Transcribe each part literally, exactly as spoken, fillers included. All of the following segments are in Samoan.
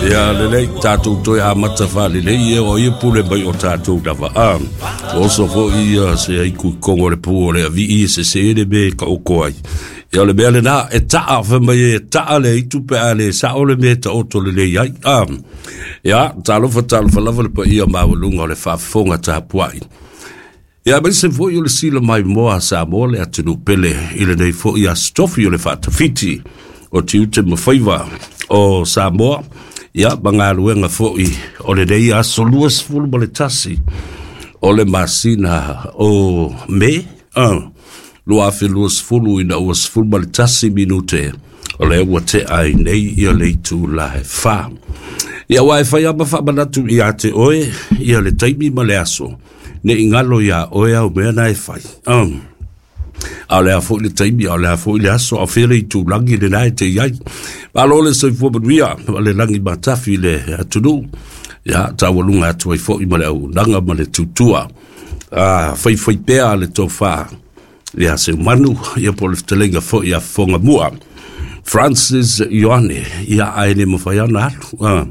Ia lelei tatou toe amata faalelei e o ia pule mai o tatou lava a oso foʻi ia se ai kuikogo le pu o le aviʻi e sesē le me kaʻoko ai. Ia o le mea lenā e taʻa femai e taʻa le itu pe a le saʻo le mea taoto lelei ai a. Ia talofa talofa lava le paia maualuga o le faafofoga tapuaʻi. Ia aemaise foʻi o le sila mai moa Samoa le atunuu pele i lenei foʻi aso tofi o le faatafiti o tiute ma faiva o Samoa. Ia ma galuega foʻi o lenei aso luasefulu ma le tasi o le masina o Me lua afe luasefulu ina ua sefulu ma le tasi minute o lea ua tea ai nei ia le itula e fa. Ia ua e fai ama faamanatu iā te oe ia le taimi ma le aso neʻi galo iā oe au mea na e fai. Um. A o le a foʻi le taimi, a o le a foʻi le aso, a fea le itulagi lenā e te iai. Malo le soifua manuia ma le lagi matafi le atunuu. Ia taualuga atu ai foʻi ma le auaunaga ma le tutua. A faifai pea le tofā ia Seumanu, ia po o le fetalaiga foʻi a fofoga mua Francis Ioane, ia ae le mafai ana alu. Ah,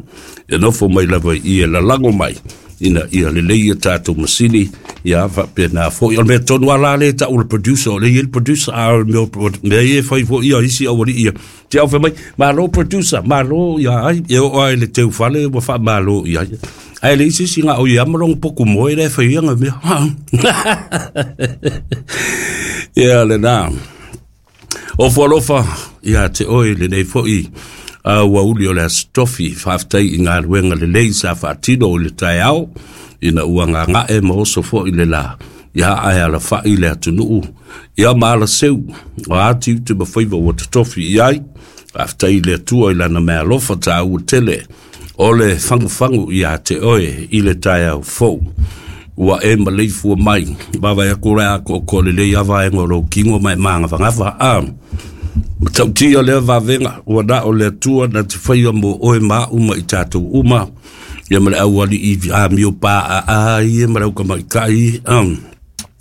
e nofo mai lava i e lalago mai ina ia lelei ia tatou masini, ia faapena foʻi. O le mea tonu ala le taʻu le producer, o le ia le producer, a o le mea mea ia e fai foʻi ia isi aualii ia. Te au fai mai, malo producer, malo ia ai, e oo ai le teufale ua faamalo i ai. Ae le isi isi ga o ia ma longa poku moe le fai ia nga mea. Ia lenā. O fualofa ia te oe lenei foʻi a ua uli o le aso tofi faafetai i galuega lelei sa faatino i le taeao ina ua gagaʻe ma oso foʻi le lā ia ae alafaʻi le atunuu ia ma alaseu o ati ute ma faiva ua totofi i ai. Faafetai i le Atua i lana mealofa tāua tele o le fagufagu iā te oe i le taeao fou. Ua e maleifua mai, vavae aku le akoakoa lelei a vaega o lou kino ma e magavagava a. Matautia lea vavega ua na o le Atua na te faia mo oe ma aʻu ma i tatou uma ia ma le aualii amio paaa ia ma le aukamaʻikaʻi um.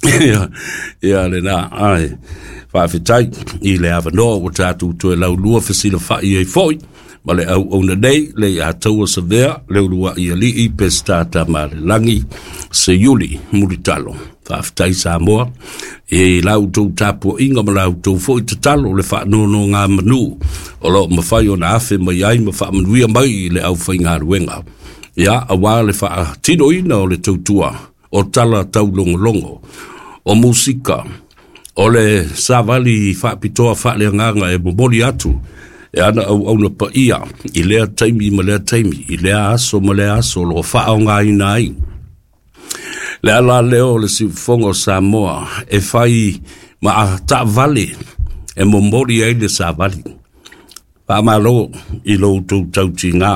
Ia, ia lenā ae faafetai i le avanoa ua tatou toe laulua fesilafaʻi ai foʻi ma le auauna nei le iā taua savea le uluaʻi alii Peseta Tamalelagi Seiuli Mulitalo. Faafetai Samoa e la outou tapuaʻiga ma la outou foʻi tatalo le faanonogamanu o loo mafai ona afe mai ai ma faamanuia mai i le aufaigaluega ia auā le faatinoina o le tautua o tala taulogologo o musika o le savali faapitoa faaleagaga e momoli atu e ana auauna paia i lea taimi ma lea taimi i lea aso ma lea aso o loo faaaogāina ai le ala lea o le siufofoga o Samoa e fai ma taavale e momoli ai le savali. Faamalo i lo outou tautigā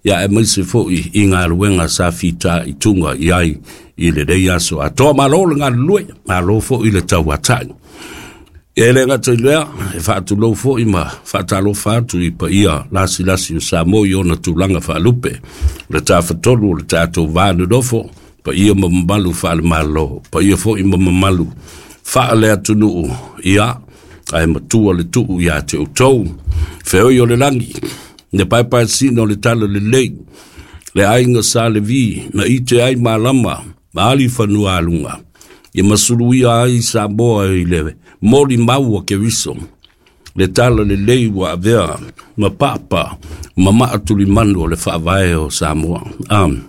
ia aemaise foʻi i galuega sa fita i tuga i ai i lenei aso atoa. Malo le galulue, malo foʻi le tauataʻi. E le gata i lea, e faatulou foʻi ma faatalofa atu i paia lasilasi o Samoa i ona tulaga faalupe, le tafatolu o le tatou va nonofo, paia ma mamalu faalemalo, paia foʻi ma mamalu faaleatunuu, ia ae matua le tuu iā te outou. Feoi o le lagi, le paepaesina o le tala lelei, le aiga sa Levi, na ite ai malama, ma ali fanua aluga, ia masuluia ai Samoa i le moli maua Keriso, le tala lelei ua avea ma papa ma maatulimanu o le faavae o Samoa. Um,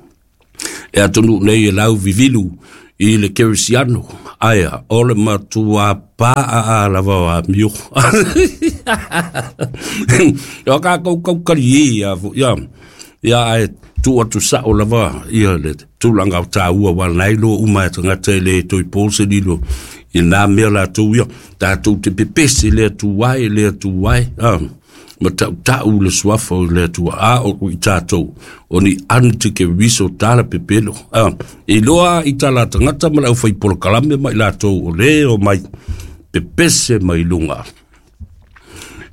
e atunuu nei e lau vivilu i le kerisiano, aia o le matua paa lava o amio. O kākou kaukali e ia ia ia ae tuu atu saʻo lava ia le tulaga o tāua ua lanai loa uma e tagata e le toe po se lilo i nā mea latou ia tatou te pepese le Atua e le Atua e ma taʻutaʻu le suafa o le Atua a o i tatou o ni anu te keriso tala pepelo a iloa i tala tagata ma le aufai polokalame ma i latou o le o mai pepese mai luga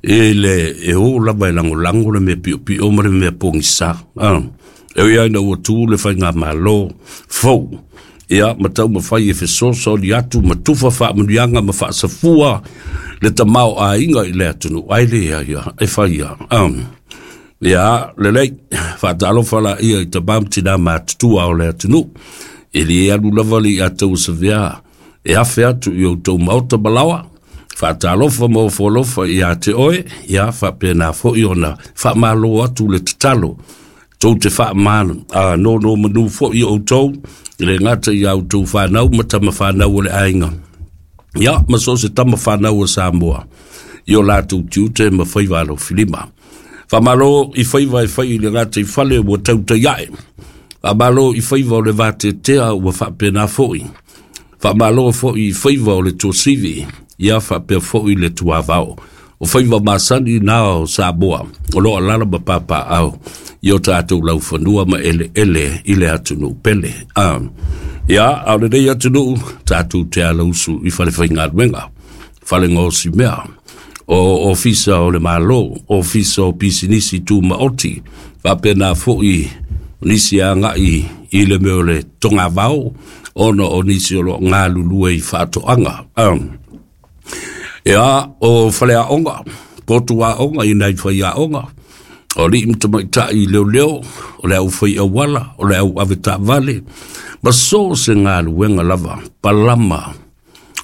e le e o lava e lagolago le mea piopio ma le mea pogisa a e ui ai na ua tu le faigamalo fou ia ma taumafai e fesoasoani atu ma tufa faamanuiaga ma faasafua le tamao aiga i le atunuu ai lea ia e fai ia um, Ia, lelei, faatalofa laia i tamā ma tinā matutua o le atunuu. E lē alu lava le ia tauasavea e afe atu i outou maota malaoa. Faatalofa ma ofoalofa iā te oe, ia faapena foʻi ona faamālō atu le tatalo. Tou te faamānonomanu foʻi outou, i le gata iā outou fanau ma tama fanau o le aiga. Ia, ma so o se tama fanau o Samoa, i o latou tiute ma faiva alofilima. Faamālō i faiva e fai i le gata i fale ua tautai aʻe. Faamālō i faiva o le vateatea ua faapena foʻi. Faamālō foʻi i faiva o le tuasivi, ia faapea foʻi le tuavao. O faiva masani na o Samoa, o loo alaala ma papaaao i o tatou laufanua ma eleele i le atunuu pele. Ah. Ia, a o lenei atunuu, tatou te alausu i fale faigaluega, fale gaosimea, o ofisa o le Malo, ofisa o pisinisi tumaoti, faapena foʻi nisi agaʻi i le mea o le togavao, ona o nisi o loo galulue i faatoaga. Um, ia, o faleaoga, potu aoga i nai faiaoga, o alii ma tamaitai leoleo, o le aufai auala, o le au avetaavale, ma so o se galuega lava, palama,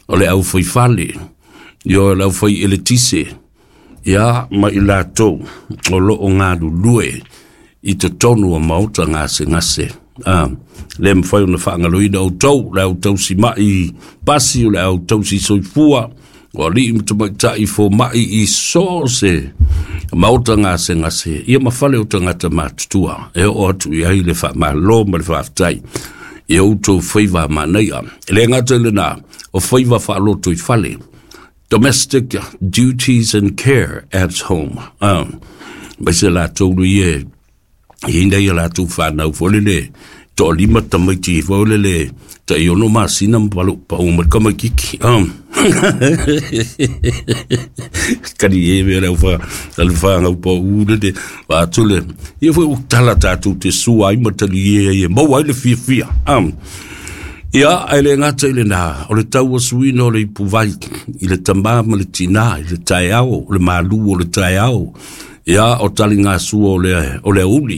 o le aufaifale, ioe, le aufai eletise, ia ma i latou o loo galulue i totonu o maota gasegase. Ah, le mafai ona faagaloina outou, le au tausimaʻi pasi, o le au tausi soifua, o alii ma tamaitai fomaʻi i so o se maota gasegase, ia ma fale o tagata matutua, e oo atu i ai le faamālō ma le faafetai i outou faiva manaia. E le gata i lenā, o faiva faaloto i fale, domestic duties and care at home. Ah, mai se latou lui e ina ia latou fanau foi lele toalima tamaiti foi lele tai ono masina ma palu pau mai kamaikiki. Um. Kani e me le fa le fa ngau pa u le de wa tule ia foi u tala tatou te sua ai ma tali e e maua ai le fiafia. Um. Ia, ae le gata i lenā, o le tauasuina o le ipuvai, i le tamā ma le tinā, i le taeao, o le malū o le taeao, ia, o taligasua o le, o le aoauli.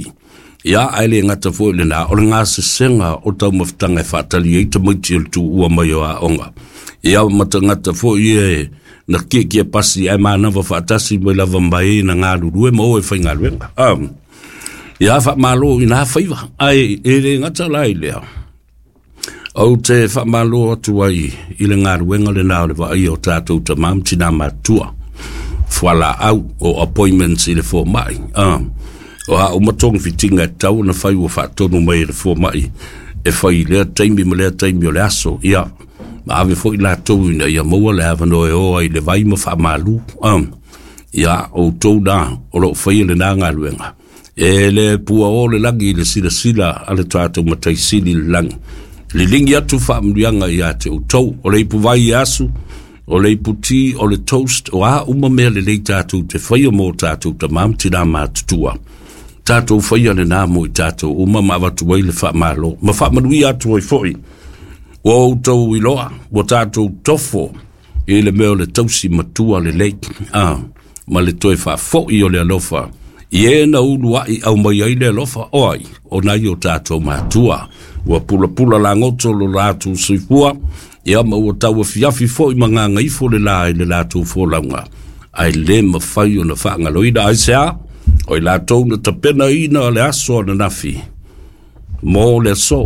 Ia, ae le gata foi i lenā, o le gasesega o taumafataga e faatali ai tamaiti o le tuua mai o aoga. Ia, ma tagata foi e na kiekie pasi ae manava faatasi mai lava ma e na galulue ma o e faigaluega. Um, ia, faamālō i nā faiva, ae e le gata la i lea. Ou te faamālō atu ai i le galuega lenā o le vaaia o tatou tamā ma tinā matutua. Fualaau o appointments i le fomaʻi. Ah, o a uma togafitiga e tatau ona fai ua faatonu mai e le fomaʻi e fai i lea taimi ma lea taimi o le aso. Ia, ma ave foʻi latou ina ia maua le avanoa e o ai i le vai ma faamalū. Ah, ia, outou na o loo faia lenā galuega. E le puaō le lagi i le silasila a le tatou mataisili i le lagi. Liligi atu faamanuiaga iā te outou, o le ipuvai e asu, o le iputi, o le toast, o a uma mea lelei tatou te faia mo tatou tamā ma tinā matutua. Tatou faia lenā mo i tatou uma ma avatu ai le faamālō. Ma faamanuia atu ai foʻi. Ua outou iloa, ua tatou tofo i le mea o le tausi matua lelei, ah, ma le toe faafoʻi o le alofa. I e na uluaʻi aumai ai le alofa o ai, o nai o tatou matua. Ua pulapula lagoto lo latou soifua, ia ma ua tauafiafi foʻi ma gagaifo le lā i le latou folauga. Ae lē mafai ona faagaloina aiseā, o i latou na tapenaina le aso ananafi mo le aso.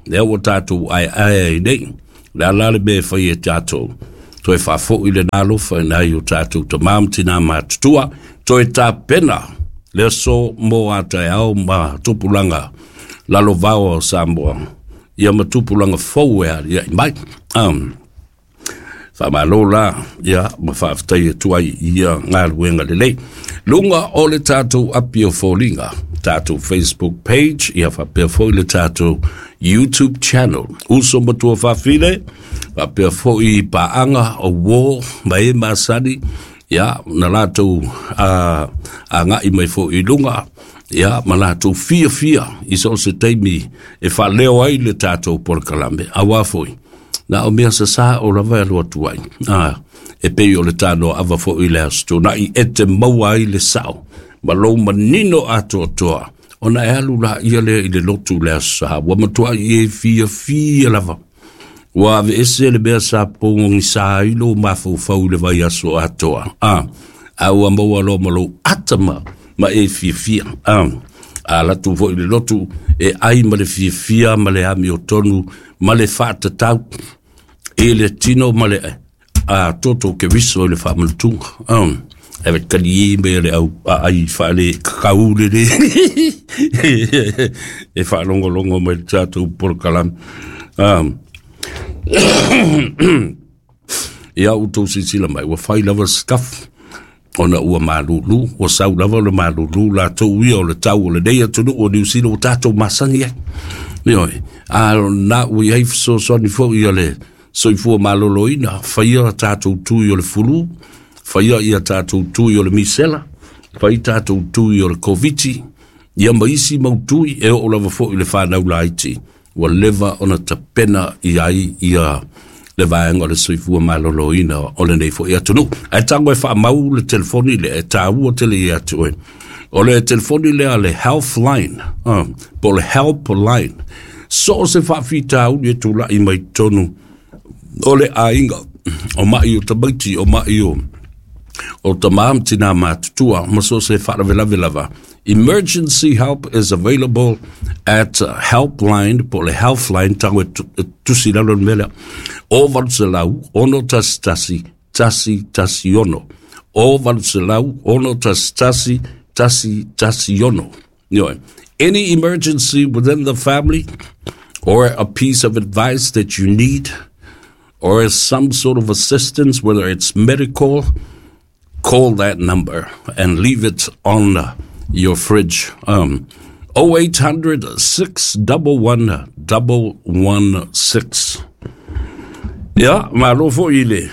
Lea ua tatou aeae ai nei, le a la le mea e fai e tatou. Toe faafoʻi lenā alofa i nai o tatou tamā ma tinā matutua, toe tapena le aso mo a taeao ma tupulaga lalovaoa o Samoa, ia ma tupulaga fou e aliaʻi mai. Um, faamālō la, ia ma faafetai atu ai i ia galuega lelei. Luga o le tatou api o foliga, tatou Facebook page, ia faapea foʻi le tatou YouTube channel. Uso ma tuafafine, faapea foʻi paaga o uō ma e masani, ia na latou a agaʻi mai foʻi i luga, ia ma latou fiafia i so o se taimi e faaleo ai le tatou polokalame. Auā foʻi, na o mea sasā o lava e alu atu ai. Ah, e pei o le tanoa ava foʻi le aso tuanaʻi e te maua ai le sao. Ma lou manino atoatoa, ona e alu la ia lea i le lotu le aso sa, ua matuai e fiafia lava. Ua aveese le mea sa pogogisa ai lou mafaufau i le vaiaso atoa. Ah, a ua maua loa ma lou ata ma, ma e fiafia. Ah, a latu foi i le lotu e ai ma le fiafia ma le amiotonu ma le faatatau i le tino ma le a toto ke viso i le faamanutuga. Ah, e ve kali me le au ai faale kakau le le e faalogologo mai le tatou polokalame. Ah, ia outou silasila mai ua fai lava scaff ona ua malulu, ua sau lava le malulu latou ia o le tau o lenei atunuu o Niu Sila ua tatou masani ai. Ioe, a na ua i ai fesoasoani foi a le soifua maloloina, faia tatou tui o le fulu, faia ia tatou tui o le misela, fai tatou tui o le koviti, ia ma isi mau tui e oo lava foi i le fanau laiti, ua leva ona tapena i ai ia le vaega o le soifua maloloina o lenei foi atunuu. Ae tago e faamau le telefoni lea e taua tele ia te oe. O le telefoni lea le Healthline, uh, po o le Helpline. So o se faafitauli e tulai mai totonu o le aiga, o mai o tamaiti, o mai o o tamā ma tinā matutua, ma so se faalavelave lava. Emergency help is available at Helpline, po o le Healthline, tago e tusi lalo le mea lea. O valu selau, ono tasi tasi, tasi tasi ono. O valu selau, ono tasi tasi, tasi tasi ono. Ioe. Any emergency within the family or a piece of advice that you need or some sort of assistance, whether it's medical, call that number and leave it on your fridge. Um, oh eight hundred, six one one, one one six. Ia, malo foi le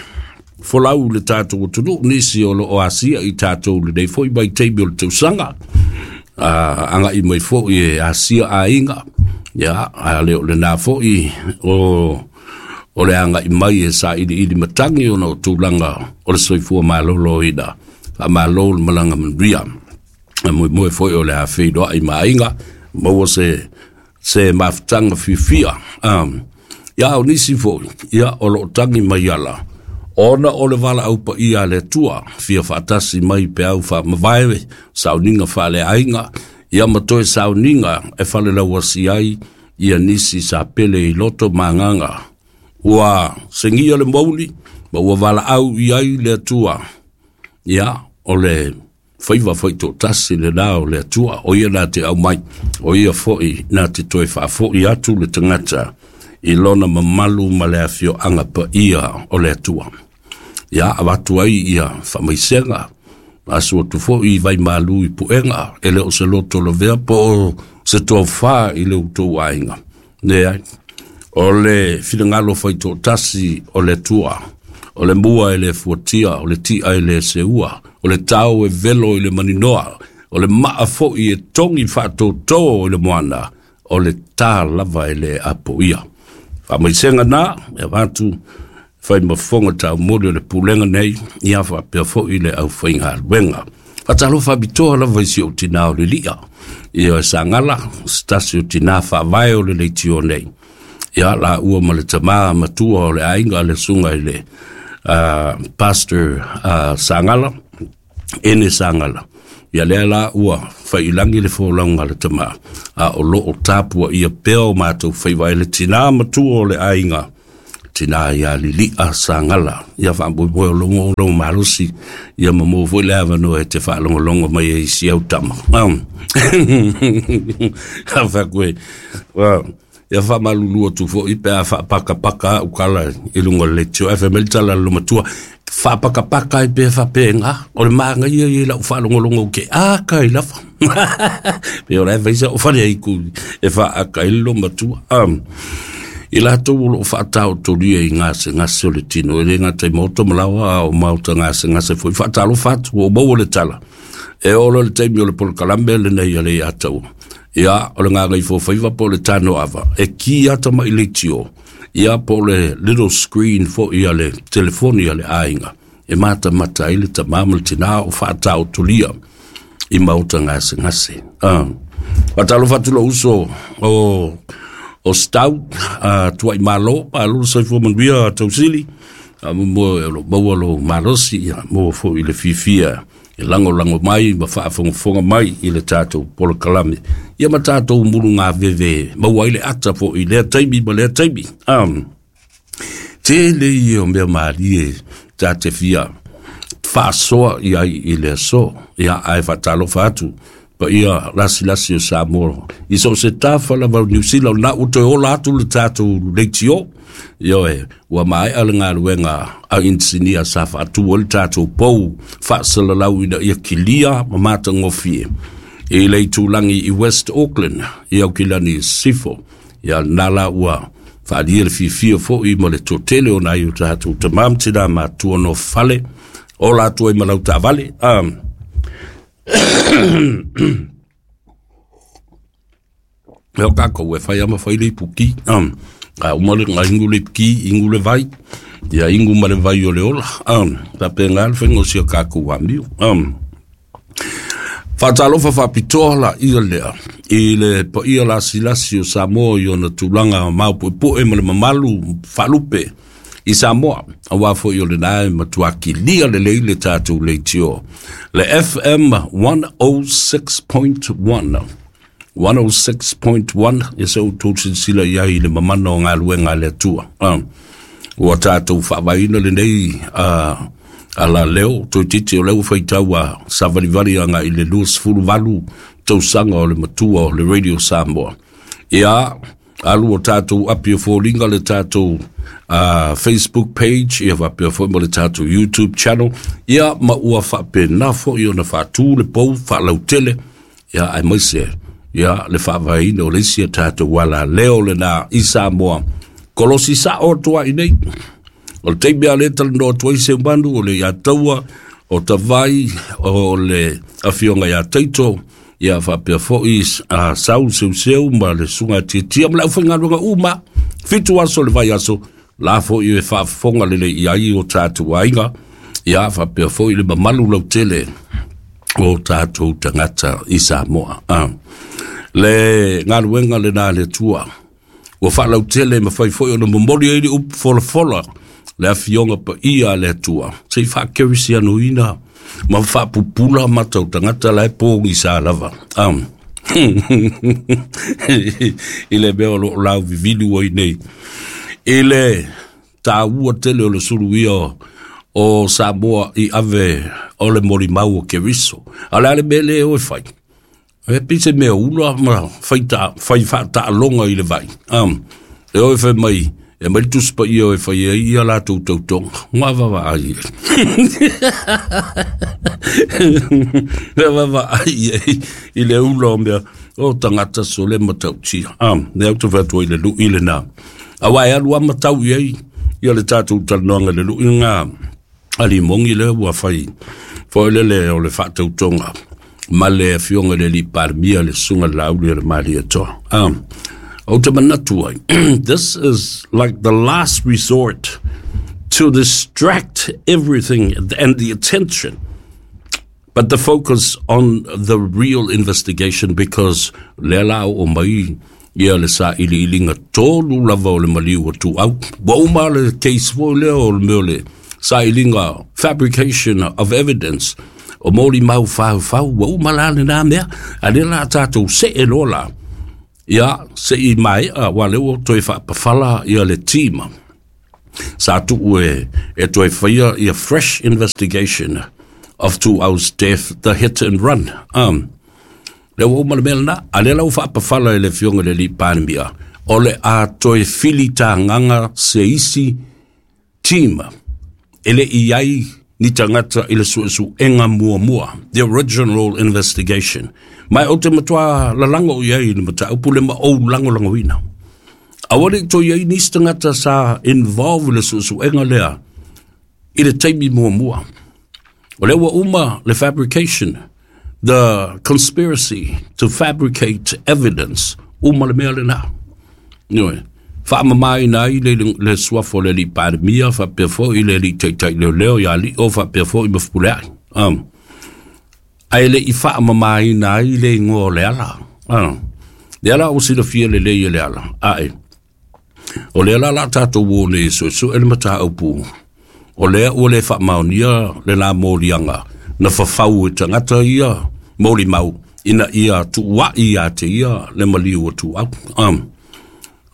folau le tatou atunuu, nisi o loo asia i tatou lenei foi vaitaimi o le tausaga. Uh, agai mai foi e asia aiga. Ia, a le o lena foi o o le agai mai e sailiili matagi ona o tulaga o le soifua maloloina. Faamalo le malaga manuia. E moemoe foi o le a feiloai ma aiga, maua se se mafutaga fiafia. Um, ia o nisi foi, ia o loo tagi mai ala, ona o le valaau paia a le Atua, fia faatasi mai peau faamavae, sauniga faaleaiga, ia ma toe sauniga e falelauasi ai ia nisi sa pele i loto ma agaga. Ua segia le mouli, ma ua valaau i ai le Atua. Ia, o le faiva foi toatasi lenā o le Atua, o ia na te aumai, o ia foi na te toe faafoi atu le tagata i lona mamalu ma le afioaga paia o le Atua. Ia, avatu ai ia faamaisega, asu atu foi i vaimalu i puega, e le o se loto lavea po o se tofa i le outou aiga. Leai, o le finagalo faitoatasi o le Atua, o le mua e le fuatia, o le ti'a e le seua, o le tao e velo i le maninoa, o le maa foi e togi faatōtō i le moana, o le tā lava e le apoia. Faamaisega na, e avatu fai ma fofoga taumoli o le pulega nei, ia faapea foi le aufaigaluega. Faatalofa faapitoa lava i si ou tinā o le lia, ia e Sagala, se tasi o tinā faavae o le leitio nei. Ia la ua ma le tamā matua o le aiga le susuga i le uh, Pastor uh, Sagala, ene Sagala. Ia lea la ua faiilagi le folauga a le tamā, a o loo tapua ia pea o matou faiva e le tinā matua o le aiga, tinā ia Lilia Sagala. Ia faamoemoe o logo o lou malosi, ia ma maua foi le avanoa e te faalogologo mai ai si au tama. Um. A fakoe. Ia faamalulu atu foi pe a faapakapaka au kala i luga o le leitio F M le tala le matua. Faapakapaka ai pe faapenga, o le magaia ia i lau faalogologo ke aka i lafa. Pe o la e faisa o fale ai ku e faaka ai le matua. Um, i latou o loo faataotolia i gasegase o le tino, e le gata i maota ma laoa a o maota gasegase foi. Faatalofa atu ua maua le tala. E oo loa le taimi o le polokalame lenei a le Iataua. Ia, o le gagaifofaiva po o le tano ava, e ki ata mai leitio, ia po o le little screen foi a le telefoni a le aiga, e matamata ai le tamā ma le tinā o faataotolia. I maota gasegase. Ah. Faatalofa atu lou uso o o Stau uh, tuai malo malo le soifua manuia tausili mo o maua lou malosi ia mo foʻi le fiafia e lagolago mai ma faafogafoga mai i le tatou polokalame ia ma tatou mulugaveve maua ai le ata foʻi lea taimi ma lea taimi. Um, tele ia o mea malie ta te fia faasoa i ai i le aso ia ae faatalofa atu paia lasilasi o Samoa i so o se tafa lava o Niu Sila o lena ua toe ola atu le tatou leitio ioe ua maea le galuega a inisinia sa faatu ai le tatou pou faasalalau ina ia kilia ma matagofie i le itulagi i West Auckland i Aukilani Sifo ia lena la ua faaalia le fiafia foʻi ma le toatele o nai o tatou tamā ma tinā matua nofale ola atu ai ma lau taavale. Um, E o kākou e whai ama whai le ipuki. Um, a uma le ngai ingu le ipuki, ingu le vai. Ia ingu ma le vai o le ola. Um, ta pe ngā le whainga o sia kākou wāmiu. Um, Faatalofa faapitoa la ia lea i le paia lasilasi o Samoa i ona tulaga maopoepoe ma le mamalu faalupe i Samoa auā foʻi o lenā e matuakilia lelei le tatou leitio le F M one oh six point one one oh six point one ia se outou silasila i ai i le mamana o galuega a le Atua. Um, ua tatou faavaeina lenei uh, ala leo toetiti o lea ua faitau a savalivali aga i le luasefuluvalu tausaga o le matua o le Radio Samoa. Ia alu o tatou api o foliga le tatou uh, Facebook page ia faapea foʻi ma le tatou YouTube channel ia ma ua faapena foʻi ona faatū le pou faalautele ia aemaise ia le faavaeina o le isi a tatou ala leo lenā i Samoa kolosi sao atu ai nei. O le taimi a le talanoa atu ai seumanu o le ia taua o tavai o le afioga iā Taito ia faapea foʻi a sau seuseu ma le suga tiatia ma le aufaigaluega uma fitu aso le vai aso la foʻi e faafofoga lelei i ai o tatou aiga ia faapea foʻi le mamalu lautele o tatou tagata i Samoa. Ah. Le galuega lenā le Atua ua faalautele ma fai foʻi ona momoli ai le upu folafola le afioga paia a le Atua sei faakerisianoina ma faapupula matau tagata la e pogisa lava. Um. I le mea o loo lauvivili ua i nei i le tāua tele o le suluia o Samoa i ave o le molimau o Keriso. A le a le mea lea o e fai. E pei se mea ula ma fai ta, fai faataaloga i le vai. Um, e o e fai mai, e mai le tusi paia o e fai ai ia latou tautoga. Ngā vavaai e. Ngā vavaai e i le ula o mea o tagata sole matautia. Um, ne au te whatua i le lui le nā. Aua e alu a matau i ai ia le tatou talanoaga i le lui ngā ali mongi le ua fai foi le le o le faatautoga ma le afioga i le alii Palemia le susuga le Laauli o le Malietoa. Um, ou te manatu ai, this is like the last resort to distract everything and the attention, but the focus on the real investigation because lea la o mai ia le sailiiliga tolu lava o le maliu o Tuau. Ua uma le case foi lea o le mea o le sailiga fabrication of evidence o moli mau faufau ua uma la lenā mea a lea la tatou see loa la ia seʻi maea ua lea ua toe faapafala ia le team sa tuu e, e toe faia ia fresh investigation of Tuau's death, the hit and run. Um, lea ua uma le mea lenā a lea la ua faapafala e le afioga i le alii Palemia o le a toe filitagaga se isi team e le i ai ni tagata i le suesuega muamua, the original investigation. Mai o te matua lalago i ai i le mataupu le ma ou lagolagoina. Aua le i toe ai nisi tagata sa involve i le suesuega lea i le taimi muamua. O lea ua uma le fabrication, the conspiracy to fabricate evidence, uma le mea lenā. Ioe, faamamaina ai le, le suafa o le alii Palemia, faapea foʻi le alii taitai leoleo ia Aliʻo, faapea foʻi ma Fepuleai. Um, Ae le'i faamamāina ai le igoa o Leala. Ah. Lea la ua silafia lelei e Leala, ae o lea la la tatou o nei e suesue le mataupu, o lea ua le faamaonia le la moliaga na fafau e tagata ia molimau ina ia tuua'i ia te ia le maliu o Tuuau. Um,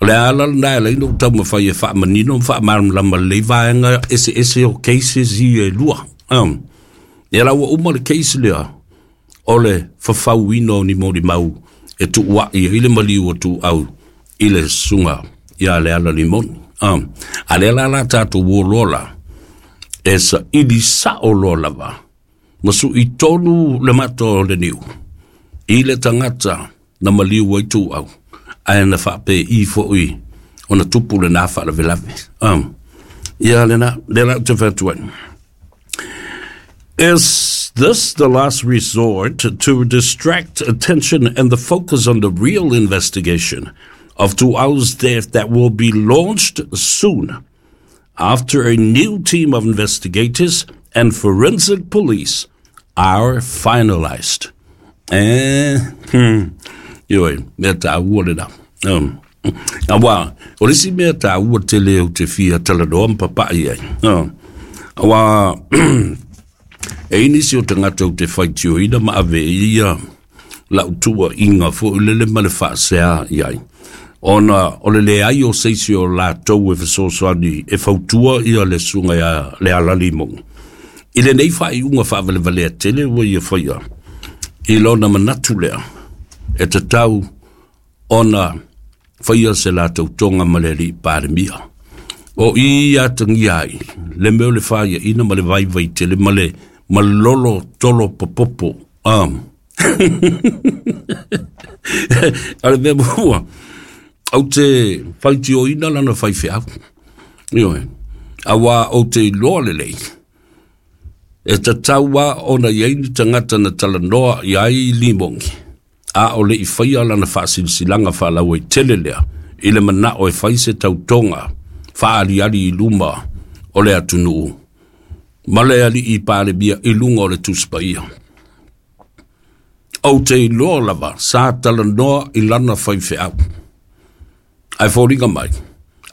o le ala lena e ala ai ona ou taumafai e faamanino ma faamalamalama lelei vaega eseese o cases ia e lua. Um, ia la ua uma le case lea o le fafauina o ni molimau e tuua'i ai le maliu o Tuuau i le susuga ia Leala Limoni. Um, a lea la la tatou o loa la, e saili sa'o loa lava ma su'i tonu le mata o le niu i le tagata na maliu ai Tuuau, ae na faapei fo'i ona tupu lena faalavelave. Um, ia lena, lea la ou te fai atu ai. Is this the last resort to distract attention and the focus on the real investigation of Tuuau's death that will be launched soon after a new team of investigators and forensic police are finalized? Eh, hmm, ioe, mea tāua lena. Um, auā, o le isi mea tāua tele ou te fia talanoa ma papa'i ai. Uh, auā, e i ai nisi o tagata ou te faitioina ma ave i ia lau tuua'iga fo'i lele ma le fa'aseā i ai. Ona o le leai o se isi o latou e fesoasoani e fautua ia le susuga ia Leala Limogi. I lenei faaiuga faavalevalea tele ua ia faia i lona manatu lea e tatau ona faia se latou toga ma le alii Palemia. O i atagia ai le mea o le faiaina ma le vaivai tele ma le malolo tolo popopo. Um. O le mea muamua, ou te faitioina lana faifeau. Ioe, auā ou te iloa lelei, e tatau lava ona i ai ni tagata na talanoa i ai Limogi, a o le'i faia lana faasilasilaga faalauaitele lea i le manao e fai se tautoga faaaliali i luma o le atunuu ma le alii Palemia i luga o le Tusi Paia. Ou te iloa lava sa talanoa i lana faifeau. Ae foliga mai,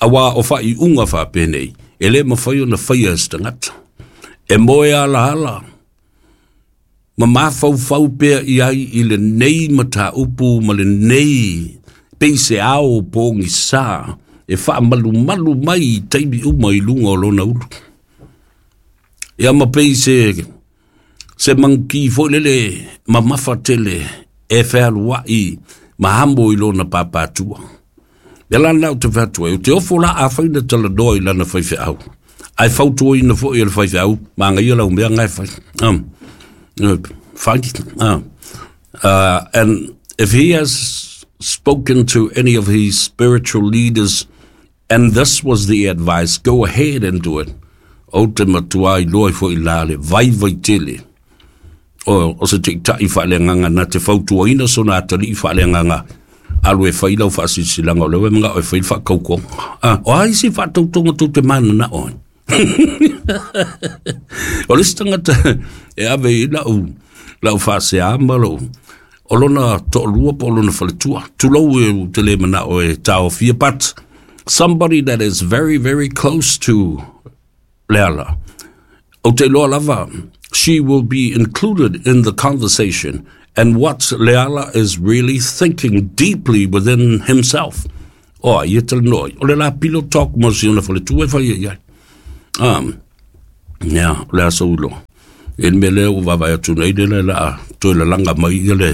auā o faaiuga faapenei e lē mafai ona faia e se tagata. E moe alaala ma mafaufau pea i ai i lenei mataupu ma lenei pei se ao pogisā e faamalumalu mai i taimi uma i luga o lona ulu. Ia ma pei se se maguki foi lele mamafa tele e fealua'i ma amo i lona papatua. Ia la lena ou te fai atu ai, ou te ofo la afai na talanoa i lana faifeau, ae fautuaina foi e le faifeau, magaia lau mea na e fai. Um, fai. Uh, uh, and if he has spoken to any of his spiritual leaders and this was the advice, go ahead and do it. Ou te matuā iloa ai fo'i la le vaivai tele o, o se taitai faaleagaga na te fautuaina sona atalii faaleagaga, alu e fai lau faasilasilaga o lea ua e manao e fai le faatautoga. Ah, o a isi faatautoga tou te mananao ai? O le isi tagata e ave i lau, lau faaseā ma lou, o lona toalua po o lona faletua. Tulou e ou te le manao e taofia, but somebody that is very, very close to Leala. Ou te iloa lava, she will be included in the conversation and what Leala is really thinking deeply within himself. O ai e talanoa ai? O le la pillow talk mo si ona faletua e fai ai ai. Um, ia, o le a sou iloa. E le mea lea ua vaavaai atu nei lea o le a toe lalaga mai ia le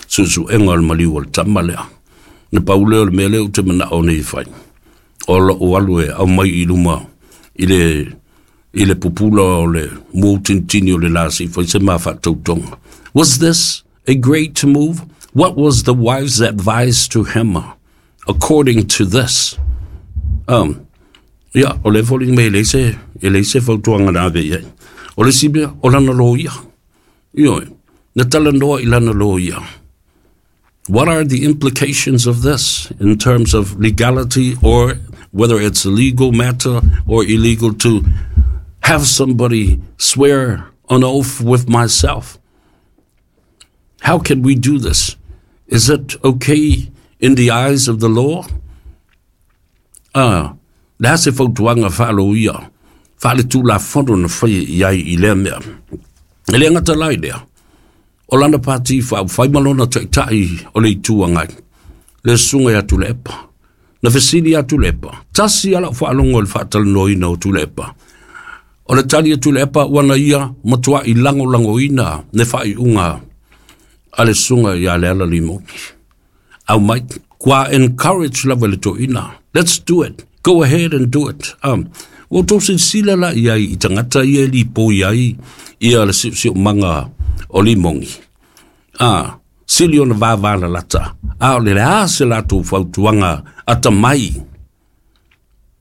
suesuega o le maliu o le tama lea. Na pau lea o le mea lea ou te manao nei e fai, o lou alu e aumai i luma i le i le pupula o le muautinitini o le la se i fai se ma faatautoga. Was this a great move? What was the wife's advice to him according to this? Um, ia, o lea e foliga mai e leai se, e leai se fautuaga na ave i ai. O le isi mea, o lana loia. Ioe, na talanoa i lana loia. What are the implications of this in terms of legality or whether it's a legal matter or illegal to have somebody swear an oath with myself? How can we do this? Is it okay in the eyes of the law? Ah, le a se fautuaga faaloia faaletulafono na faia i ai i lea mea. E le gata la i lea, o lana pati faaupufai ma lona taitai o le Itu Agai, le susuga ia Tuilaepa. Na fesili ia Tuilaepa, tasi lava lau faalogo i le faatalanoaina o Tuilaepa. O le tali a Tuilaepa ua na ia matuai lagolagoina le faaiuga a le susuga ia Leala Limoni. Aumai, kua encourage lava le toeaina. Let's do it. Go ahead and do it. Um, ua outou silasila la i ai i tagata ia e lipoi ai ia le siosiomaga o Limoni. Ah, sili ona vavalalata. A o le a se latou fautuaga atamai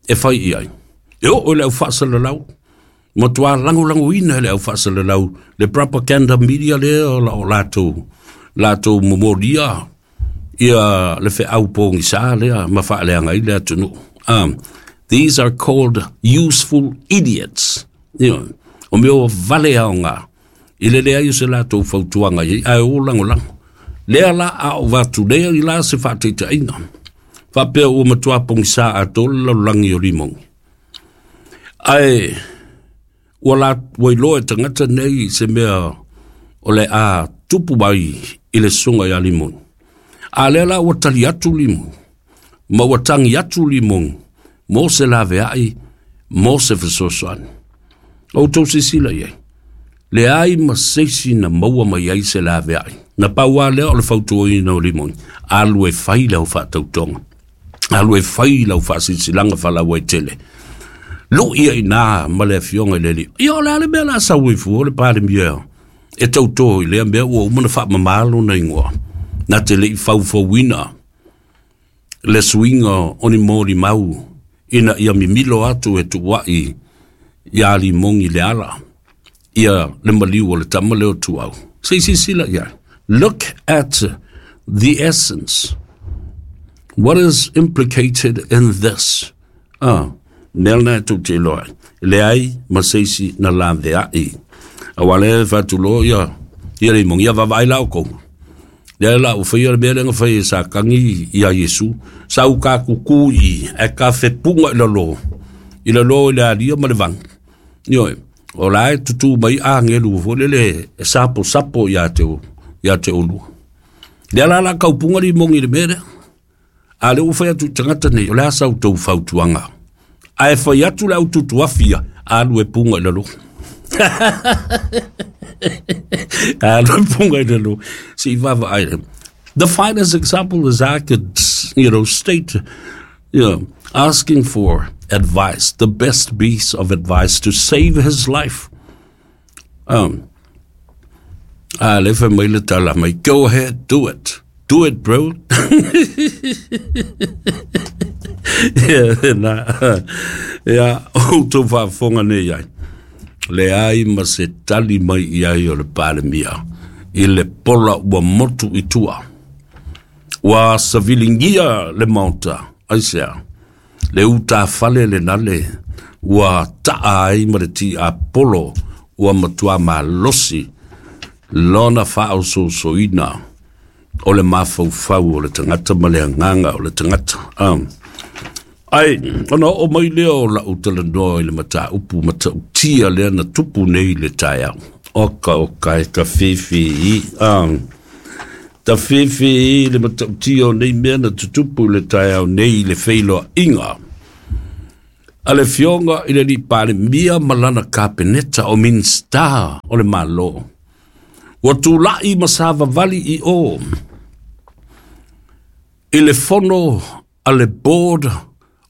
e fai i ai. E oo i le au faasalalau, matuā lagolagoina e le au faasalalau le propaganda media lea o la o latou latou momolia ia le feau pogisa lea ma faaleaga ai le atunuu. Um, these are called useful idiots. You know, o mea o vale aoga i le leai o se latou fautuaga i ai, ae o lagolago. Lea la a o vatu lea i la se faataitaiga. Faapea ua matua pogisa atoa le lalolagi o Limoni. Ae ua la ua iloa e tagata nei se mea o le a tupu mai i le susuga ia Limoni. A lea la ua tali atu Limoni, ma ua tagi atu Limoni mo se laveai, mo se fesoasoani. O outou silasila i ai, leai ma se isi na maua mai ai se laveai. Na pau lava lea o le fautuaina o Limoni, alu e fai lau faatautoga, alu e fai lau faasilasilaga faalauaitele. Lui ai inā ma le afioga i le Alii. Ia o le a le mea o le a sau ai fua le Palemia e tauto i lea mea ua uma ona faamama lona igoa. Na te le i faufauina le suiga o ni molimau ina ia mimilo atu e tuuai ia Limoni Leala ia le maliu o le tama lea o Tuau. Se i silasila i ai. Look at the essence. What is implicated in this? Ah, mea lena e tou te iloa ai. Leai ma se isi na laveai. Aua lea e faatuloa ia, ia Limoni, ia vaavaai la oukou. Lea la ua faia le mea lea na fai e Satani ia Iesu, sa uka kuku i e ka fepuga i lalo, i lalo i le alia ma le vanu. Ioe, o la e tutū mai agelu foi lele e saposapo ia te, ia te oulua. Lea la la kaupuga Limoni i le mea lea. A lea ua fai atu i tagata nei, o le a sa outou fautuaga? Ae fai atu le aututuafi ia, alu e puga i lalo. Alu e puga i lalo. Se i vaavaai lea. The finest example is I could, you know, state, you know, asking for advice, the best piece of advice to save his life. Um, a le fai mai le tala mai, go ahead, do it. Do it, bro. Ia, na, ia, outou faafofoga nei ai. Leai ma se tali mai i ai o le Palemia i le pola ua motu i tua. Ua saviligia le Maota, aisea? Le utafale lena le ua taa ai ma le tiapolo ua matua malosi lona faaosoosoina o le mafaufau o le tagata ma le agaga o le tagata. Um, ai, ona oo mai lea o lau talanoa i le mataupu matautia lea na tupu nei i le taeao. Oka oka e tawhiwhi i. Um, tawhiwhi i le matautia o nei mea na tutupu i le taeao nei i le feiloaiga a le Afioga i le Alii Palemia ma lana Kapeneta o Minisita o le Malo. Ua tulai ma savavali i o i le fono a le Board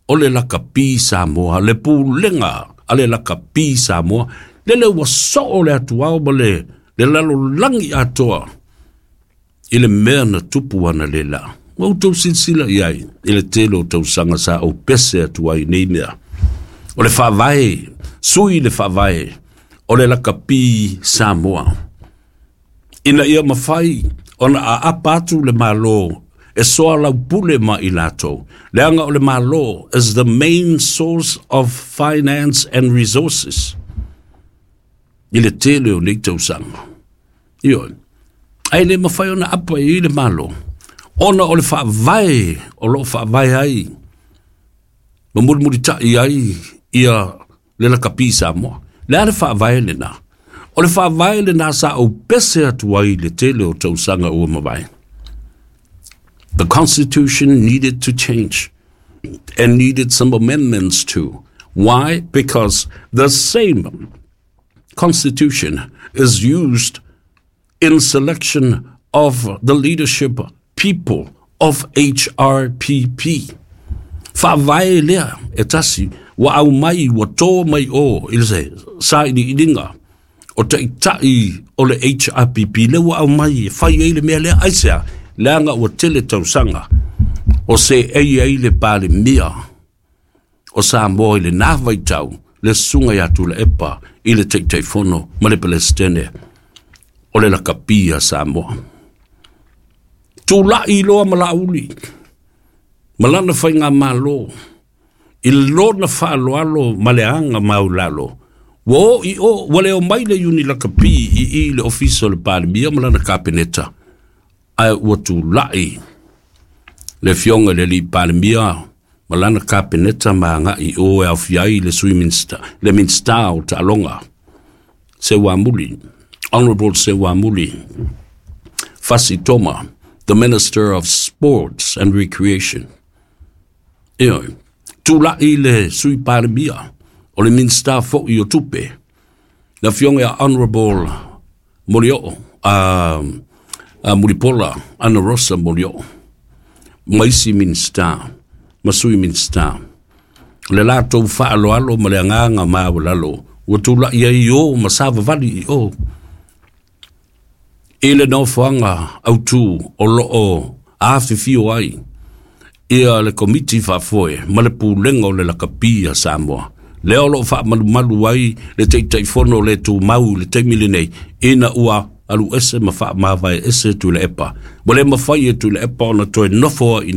o le Lakapi Samoa, le Pulega a le Lakapi Samoa, lele ua soo le atuao ma le, le lalolagi atoa i le mea na tupu analeila. Ua outou silasila i ai i le tele o tausaga sa ou pese atu ai i nei mea. O le faavae, sui le faavae o le Lakapi Samoa. Ina ia mafai ona aapa atu le Malo e soalaupule ma i latou, leaga o le Malo is the main source of finance and resources i le tele o nei tausaga. Ioe. Ae le mafai ona apa i le Malo, ona o le faavae o loo faavae ai ma mulimulita'i ai ia le lakapi Samoa. Le a le faavae lena? O le faavae lena sa ou pese atu ai le tele o tausaga ua mavae. The Constitution needed to change and needed some amendments too. Why? Because the same Constitution is used in selection of the leadership people of H R P P. Faavae lea e tasi ua aumai ua tō mai o i le se sailiiliga o ta'ita'i o le H R P P le ua aumai e fai ai le mea lea aisea leaga ua tele tausaga o seei ai le Palemia o Samoa i lenā vaitau le susuga ia Tuilaepa i le Taitaifono ma le Pelesitene o le lakapi a Samoa. Tula'i loa ma Laauli ma lana faigamālō i lona faaaloalo ma le aga maulalo ua o i o ua leo mai le iuni lakapi i i le ofisa o le Palemia ma lana kapeneta ae ua tula'i le afioga i le alii Palemia ma lana kapeneta ma aga'i o e aofia ai le sui minista le minista o taaloga Seuamuli, Honorable Seuamuli Fasi Toma, the Minister of Sports and Recreation. Ioe, tula'i le sui Palemia o le Minista fo'i o Tupe, le afioga ia Honorable Molioo, uh, uh, Mulipola Ana Rosa Molioo, ma isi Minista, ma sui Minista. Le latou faaaloalo ma le agaga maualalo ua tula'i ai o ma savavali i o i le nofoaga autū o loo afifio ai ia le komiti faafoe ma le pulega o le lakapi a Samoa. Lea o loo faamalumalu ai le Taitaifono o le tumau i le taimi lenei ina ua alu ese ma faamavae ese Tuilaepa. Ua le mafai e Tuilaepa ona toe nofo ai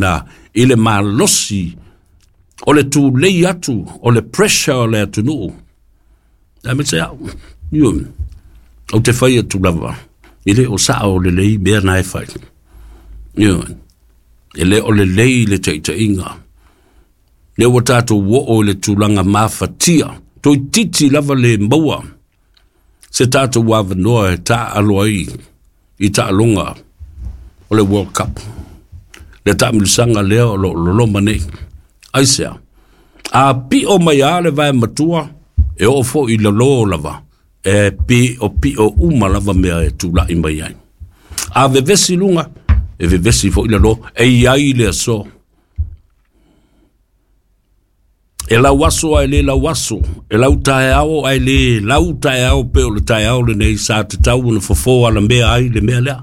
i le malosi o le tulei atu o le pressure o le atunuu. Aemaise a'u ioe ou te fai atu lava e lē o sa'a o lelei mea na e fai. Ioe e lē o lelei le taʻitaʻiga lea ua tatou o'o i le tulaga mafatia toeititi lava le maua se tatou avanoa e taaalo ai i taaloga o le World Cup. Le taamilosaga lea o loo loloma nei. Aisea? A pi'o mai a le vae matua e oo fo'i lalō lava e pi'opi'o uma lava mea e tula'i mai ai. A vevesi luga e vevesi fo'i lalō e iai le aso. E lau aso ae lē lau aso, e lau taeao ae lē lau taeao pe o le taeao lenei sa tatau ona fofō alamea ai le mea lea.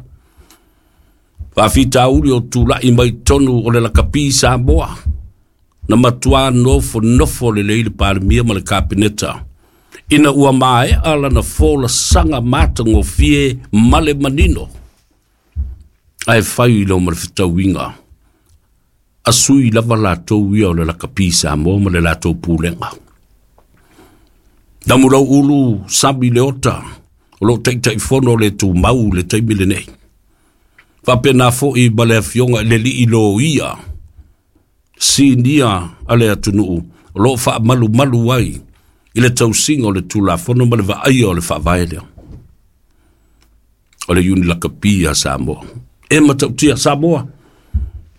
Faafitauli o tula'i mai tonu o le lakapi Samoa na matuā nofonofo lelei le Palemia ma le kapeneta ina ua mae'a lana folasaga matagofie ma le manino ae fai loa ma le fetauiga a sui lava latou ia o le lakapi Samoa ma le latou pulega. Namulau ulu sami le ota o loo taʻitaʻifono o le tumau le taimi lenei. Faapena foʻi ma le afioga i le alii loia sinia a le atunuu o loo faamalumalu ai i le tausiga o le Tulafono ma le vaaia o le faavae lea o le iuni lakapi a Samoa. E matautia Samoa,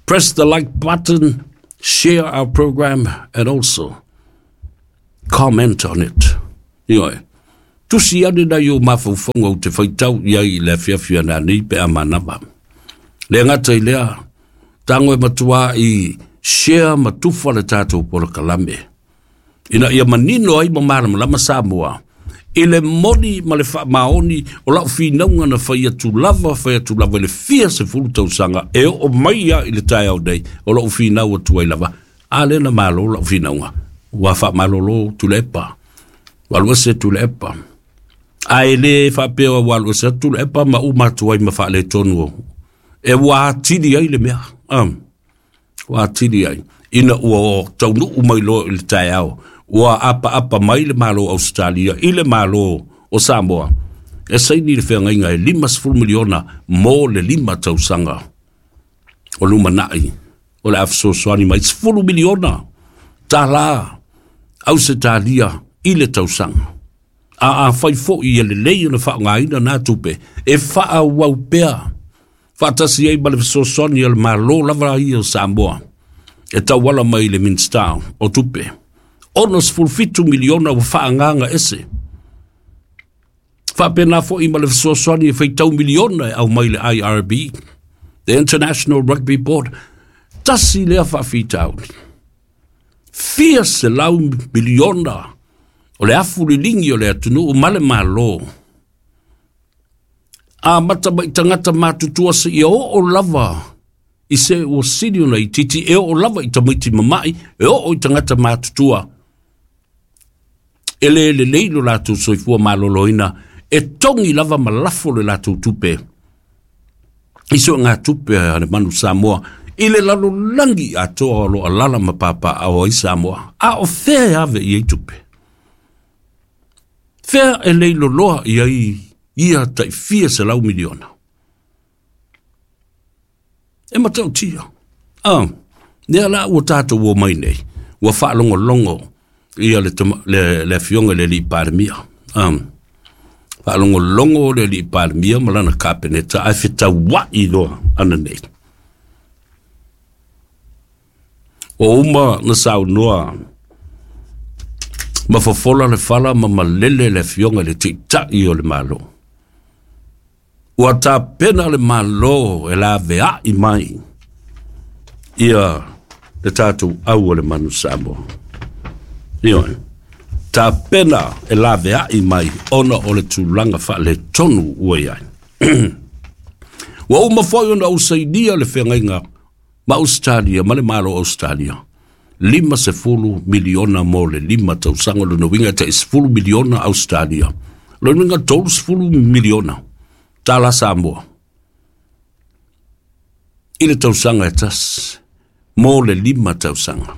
press the like button, share our program and also comment on it. Ioe, tusi ane nai o mafaufauga ou te faitau i ai i le afiafi ananei pe a manava. Le gata i lea, tago e matuā i share ma tufa le tatou polokalame ina ia manino ai ma malamalama Samoa i le moni ma le faamaoni o la'u finauga na fai atu lava fai atu lava i le fia sefulu tausaga e oo mai a i le taeao nei o lo'u finau atu ai lava. A lea na mālō la'u finauga ua faamalōlō Tuilaepa ua alu ese Tuilaepa ae lē faapea ua alu ese atu Tuilaepa ma uma atu ai ma faaletonu e ua atili ai le mea um, ua atili ai ina ua taunuu mai loa i le taeao ua apaapa mai le Malo Ausetalia i le Malo o Samoa E saini le feagaiga e limasefulu miliona mo le lima tausaga o lumanai o le a fesoasoani mai sefulu miliona tālā Ausetalia i le tausaga. A afai foi e lelei ona faaaogaina na tupe e faaauau pea faatasi ai ma le fesoasoani a le Malo lava ia o Samoa e tauala mai le Minisita o Tupe. Onosefulu fitu miliona ua faaagaga ese. Faapena foi ma le fesoasoani e faitau miliona e aumai le I R B, the International Rugby Board. Tasi lea faafitauli. Fia selau miliona o le afu liligi o le atunuu ma le Malo. A mata mai tagata matutua seia oo lava i se ua sili ona itiiti, e oo lava i tamaiti mama'i, e oo i tagata matutua. E le lelei lo latou soifua maloloina, e togi lava ma lafo le latou tupe. I soogatupe a le manu Samoa, i le lalolagi atoa o lo alala ma papaao ai Samoa. A o fea e ave i ai tupe? Fea e leiloloa i ai ia tai fia selau miliona? E matautia. Ah, lea la ua tatou o mai nei, ua faalogologo ia le, le, le afioga i le alii Palemia. Ah, faalogologo le alii Palemia ma lana kapeneta ae fetaua'i loa ana nei. Ua uma na saunoa ma fofola le fala ma malele le afioga i le teita'i o le Malo. Ua tapena le Malo e lavea'i mai ia le tatou au o le manu Samoa. Ioe, tapena e lavea'i mai ona o le tulaga faaletonu ua i ai. Ua uma foi ona ou sainia le feagaiga ma Australia ma le Malo o Australia. Lima sefulu miliona mo le lima tausaga, lona uiga e tai sefulu miliona Australia. Lona uiga tolu sefulu miliona tālā Samoa. I le tausaga e tasi mo le lima tausaga.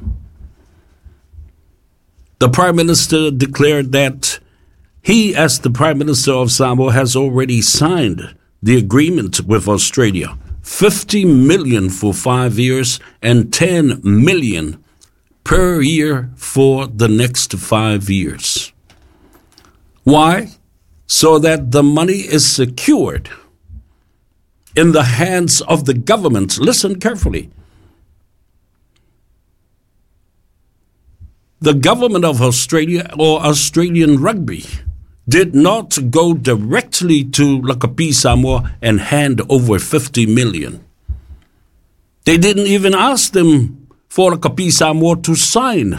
The Prime Minister declared that he, as the Prime Minister of Samoa, has already signed the agreement with Australia. fifty million for five years and ten million per year for the next five years. Why? So that the money is secured in the hands of the government. Listen carefully. The government of Australia or Australian Rugby did not go directly to Lakapi Samoa and hand over fifty million. They didn't even ask them for Lakapi Samoa to sign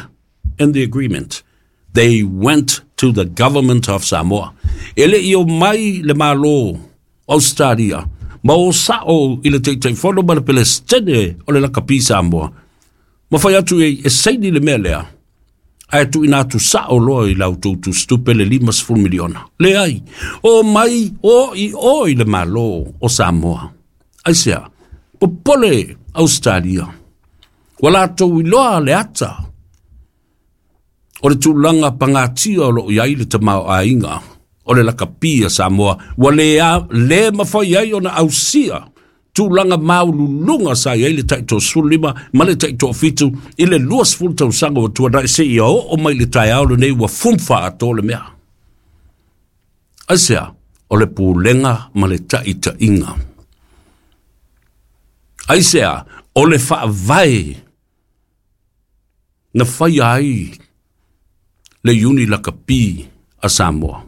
in the agreement. They went to the government of Samoa. E le i o mai le Malo Australia, ma o sa'o i le Taitaifono ma le Pelestene o le Lakapi Samoa. Ma fai atu e, e saini le mea lea. Ae tuuina atu sa'o loa i lau toutu stupe le limasefulu miliona. Leai, o mai o i o i le Malo o Samoa. Aisea, popole Australia. Ua latou iloa le ata o le tulaga pagatia o loo iai le tamaoaiga o le lakapi a Samoa. Ua le, a, le mafai ai ona ausia tulaga maululuga sa iai le taitoasefulu lima ma le taitoafitu i le luasefulu tausaga ua tuana'i seia oo mai le taeao lenei ua fumu le mea. Aisea, o le pulega ma le taʻitaʻiga. Aisea, o le faavae na faia ai le iuni lakapi a Samoa.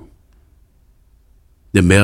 Le mea